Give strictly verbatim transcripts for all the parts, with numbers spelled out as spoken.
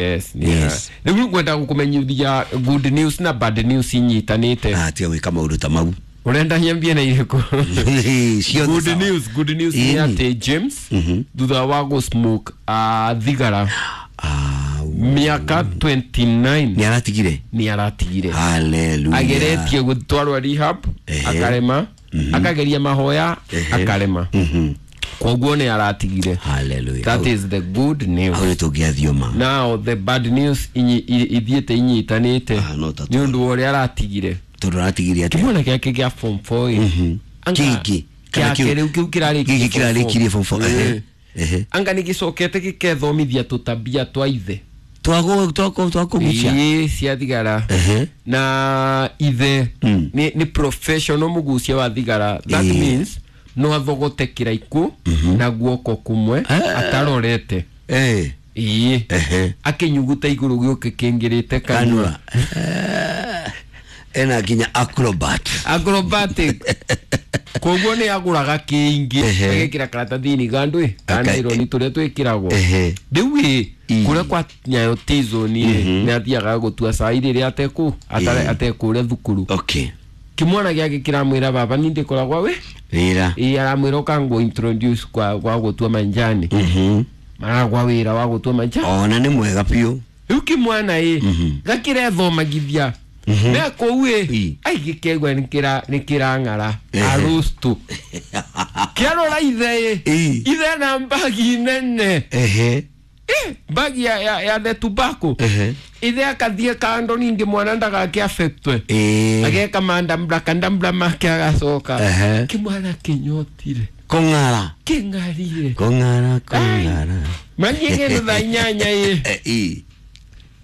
Yes, Yes. Rĩu ngwenda gũkũmenyithia good news na bad news inyitanĩte. Ah, tiga gwĩka maũndũ ta mau. Ũrenda nyambie na irĩkũ? Ciothe Good sawa. news, good news nĩ Ĩni. atĩ James thutha wa gũ smoke uh, thigara Ah, mĩaka mĩrongo ĩĩrĩ na kenda nĩ aratigire. Nĩ aratigire. Hallelujah. Ageretie gũtwarwo rehab, Ehe. akarema, akageria mahoya, Ehe. akarema. Mhm. Koguo nĩ aratigire. Hallelujah. That is the good news. Hau nĩ tũngĩathioma. Now the bad news inyi- i- ithiĩte inyitanĩte Ah, no ta nĩ ũndũ wa ũrĩa aratigire. Tondũ aratigire atĩa? Kĩmwana gĩake gĩa form four ĩ. Anga Kĩngĩ. Kana gĩake kĩu- rĩu kĩu kĩrarĩkirie Gĩkĩ form four. kĩrarĩkirie form four. Ehe. Ĩ. Ehe. Anga nĩ gĩcokete gĩkethomithia tũtabia twa ithe. Twako twako twakũgucia. Ĩ, cia thigara. Ehe. Na ithe Mm. nĩ nĩ professional mũgucia wa thigara. That Ĩ. means no athogote kĩraikũ na guoko kũmwe Ah. atarorete. Eh. Ĩ. Ehe. Akĩnyuguta igũrũ gĩũke kĩngĩrĩte kanua. Kanua. Eh. Ena nginya acrobat. Acrobatic. Koguo nĩ agũraga kĩingĩ, Ehe. agekĩra karatathi-inĩ gandũ ĩ Aka- kanaironi tũrĩa twĩkĩragwo. Ehe. Rĩu ĩ Ĩ. kũrĩa kwa Nyayo T-zone ĩ, nĩ athiaga gũtua cai rĩrĩa atekũ atare- Ĩ. atekũrĩa thukuru. Okay. Kĩmwana gĩake kĩramwĩra, "Baba, ni ndĩkoragwa wĩ." Wĩra. Ĩ, aramwĩra, "Ũkangũ introduce kwa gwa gũtua manjani." Mhm. Maragwa wĩra wa gũtua manjani. Ona nĩ mwega biũ. Rĩu kĩmwana ĩ gakĩrethomagithia me kũu ĩ Ĩ. ai gĩkegua nĩ kĩrang'ara. Ehe. Arustu kĩarora ithe ĩ, Ĩ. ithe na mbagi nene. Ehe. Ĩ, mbagi ya, ya, ya the tobacco. Ehe. Ithe akathiĩ kando ningĩ mwana ndagake affectwe. Ĩ. Ageka mandambra kandambra make agacoka. Ehe. Kĩmwana kĩnyotire. Kũng'ara. Kĩng'arire. Kũng'ara kũng'ara. Mathiĩ kĩndũ thaa inyanya ĩ. Eh, ĩ.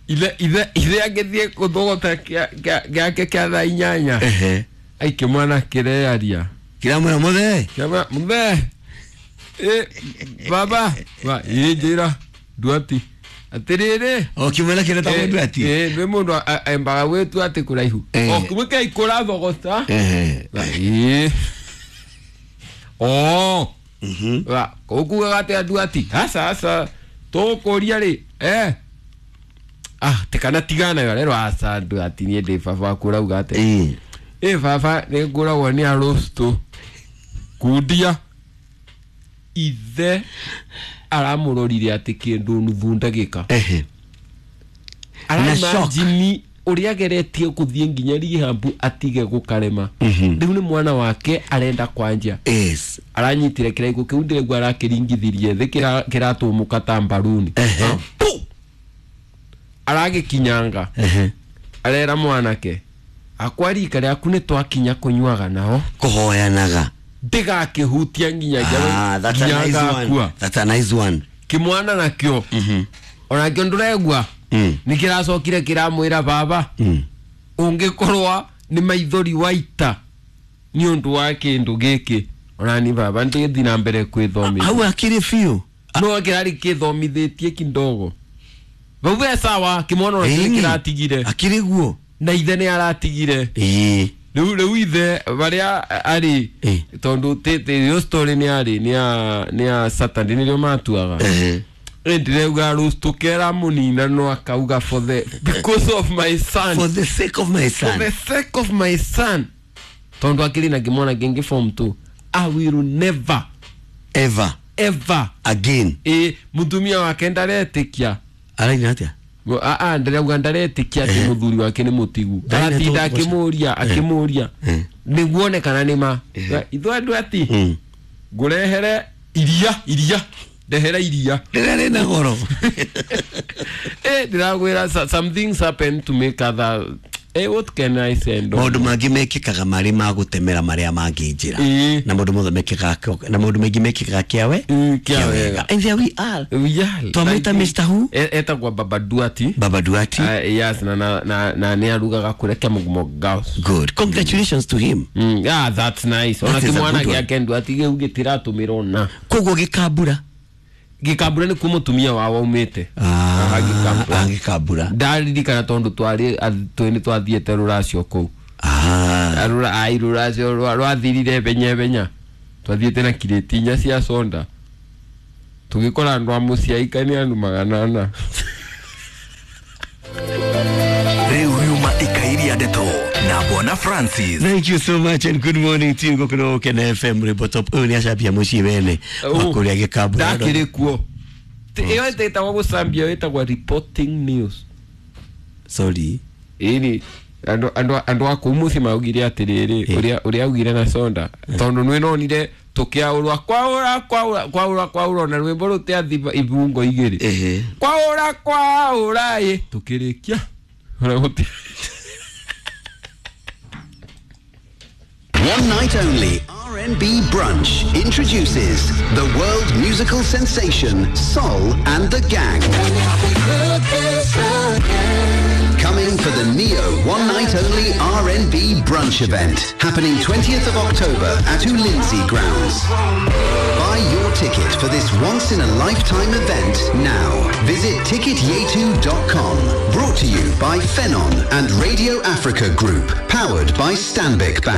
Ithe ithe ithe agĩthiĩ gũthogota kĩa- kĩa- gĩake kĩa thaa inyanya. Ehe. Ai, kĩmwana kĩrearia. Kĩramwĩra mũthee. Kĩamwĩra, "Mũthee, ĩ baba wa ĩ, njĩra nduati atĩrĩrĩ." O kĩmwana kĩretagwo Nduati. Ĩ, nĩ mũndũ a- a- embaga gwĩtua atĩ kũraihu. Eh. O kĩmwe kĩa ikũrathogota. Ehe. Ĩ, o Mhm. wa ũkugaga atĩa nduati? Aca, aca, tũgũkũria rĩ, eh ah tikana tigana yo rero. Aca nduati, niĩ ndĩ baba waku, ũrauga atĩa? Ĩ. Ĩ baba, nĩ ngũragwo nĩ arũstũ kundia. Ithe aramũrorire atĩ kĩndũ nuthu ndagĩka. Ehe. Na shock. Araimagine ũrĩa ageretie gũthiĩ nginya rehab atige gũkarema. Mhm. Rĩu nĩ mwana wake arenda kwanjia. Yes. Aranyitire kĩraiko kĩu, ndĩraigua arakĩringithirie thĩ, kĩra- kĩratũmũka ta mbaruni. Ehe. Pu! Aragĩkinyanga. Ehe. Arera mwanake, "Akwa rika rĩaku nĩ twakinya kũnyuaga nao." Kũhoyanaga. Ndĩgakĩhutia nginya Ah, that's a nginya nice one. ngakua. That's a nice one. Kĩmwana nakĩo onakĩo ndũregua Mm. nĩ kĩracokire kĩramwĩra, "Baba, Mm. ũngĩkorwa nĩ maithori waita nĩ ũndũ wa kĩndũ gĩkĩ, onani baba ndĩgĩthiĩ na mbere kwĩthomithia." Hau akĩrĩ biũ. No kĩrarĩ kĩthomithĩtie kidogo vau ve sawa. Kĩmwana onakĩo nĩ Ĩni. kĩratigire. Akĩrĩ guo. Na ithe nĩ aratigire. Ĩ. rĩu rĩu ithe barĩa arĩ Ĩ. tondũ ĩyo story nĩ arĩ nĩ ya nĩ ya Saturday nĩrĩo matuaga. Ehe. Ndĩrauga rũstũkera mũnina no akauga, "For the because of my son." For the sake of my "For son. the sake of my son," tondũ akĩrĩ na kĩmwana kĩngĩ form two, "I will never Ever ever again. Ĩ, mũtumia wake ndaretĩkia. Araina atĩa? Aa, ndĩrauga ndaretĩkia atĩ mũthuri wake nĩ mũtigu. Ndarĩ na Aratinda tũgũca. akĩmũria akĩmũria Eh. nĩguo kana nĩ ma ithuĩ andũ ati Mm. ngũrehere iria iria ndehera iria. Rĩrĩa rĩna goro. Eh, ndĩrakwĩra, so- some things happen to make other, eh, what can I say? Ndo Maũndũ mangĩ mekĩkaga marĩ ma gũtemera marĩa mangĩ njĩra. Ĩ. Na maũndũ mothe mekĩkaga, na maũndũ maingĩ mekĩkaga kĩawe. Mm, kĩa wega. And there we are. Yeah, Twamwĩta like- Mister Who? E- etagwo Baba Duati. Baba Duati. Uh, yes, na na na, na nĩ arugaga kũrĩa Kĩamugumo Girls. Good. Congratulations to him. Mm, yeah, that's nice. Ona That is a kĩmwana good one. gĩake Nduati gĩu gĩtiratũmĩrwo na Koguo gĩkambura. Gĩkambura nĩ kuo mũtumia wao aumĩte. Aha, Gĩkambura. Ah, gĩkambura. Ndaririkana tondũ twarĩ twĩ nĩ twathiĩte rũracio kũu. Ah. Rũra ai rũracio rwa- rwathirire benya benya, twathiĩte na kirĩti inya cia soda, tũgĩkora andũ a mũciaika nĩ andũ magana ana. na Francis. Thank you so much and good morning to you. Gũkũ nĩ Gũkena F M rwĩmbo top. Ũyũ nĩ acambia mũciĩ wene wa kũrĩa gĩkambu. Ndakĩrĩ kuo. Ĩyo ĩtagwo gũcambia, ĩtagwo reporting news. Sorry. Ĩni andũ andũ andũ a kũu mũciĩ maugire atĩrĩrĩ, ũrĩa ũrĩa augire na sonda tondũ nĩ nonire tũkĩaũrwa kwaũra kwaũra kwaũra kwaũra na rwĩmbo rũtiathi ibungo igĩrĩ. Ehe. Kwaũra kwaũra ĩ tũkĩrĩkia. Ũrĩa gũti- One night only, R and B Brunch introduces the world musical sensation Sol and the Gang. Coming for the Neo One Night Only R and B Brunch event, happening twentieth of October at Ulinzi Grounds. Buy your ticket for this once-in-a-lifetime event now. Visit ticket yetu dot com. Brought to you by Phenon and Radio Africa Group, powered by Stanbic Bank.